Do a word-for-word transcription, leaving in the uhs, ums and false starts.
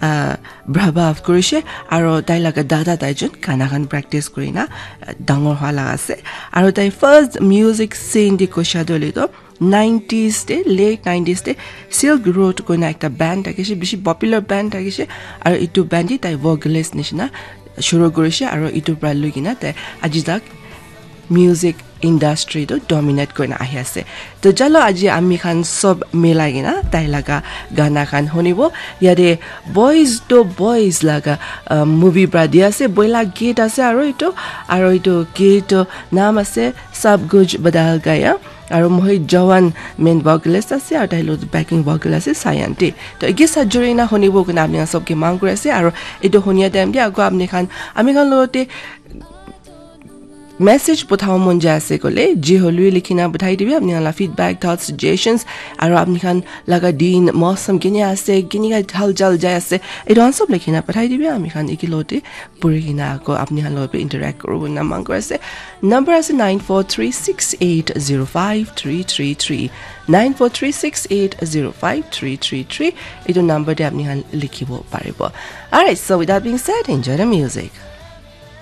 uh, brabha kurishe aro tai laga dada tai jun gana khan practice kurina uh, dangor hwa laga ase. Aro tai first music scene di kosha dole to nineties te, late nineties te Silk Road koina ekta band thakishe, bishi popular band thakishe. Aro itu band di tai vocalist nishina shuru kurishe aro itu pra lui kina tai aji tak music industry to dominate kurina ahi ase. To chalo aji ami khan sob milai kina tai laga gana khan hunibo. Yate Boys to Boys laga uh, movie pra di ase, boila gate ase aro itu, aro itu gate to naam ase Sab Kuch Badal Gaya. Aro Mohit Jawan main vocalist ase aro tai lo backing vocal ase Sayanti. To ege sajuri na hunibo kina ami khan sob ke mang kuri ase aro itu hunia time de ako ami khan ami khan lo te message pothabo mon jai ase kole ji holui likhina pothai dibi apni khan la feedback, thoughts, suggestions, aro apni khan laga din mosam kini ase, kini ka hal jal jai ase, itu khan sob likhina pothai dibi, ami khan iki lote puri kina ako apni khan lote interact kuru na mang kuri ase. Number ase nine four three six eight zero five three three three, nine four three six eight zero five three three three. Itu number de apni khan likhibo paribo. Alright, so with that being said, enjoy the music.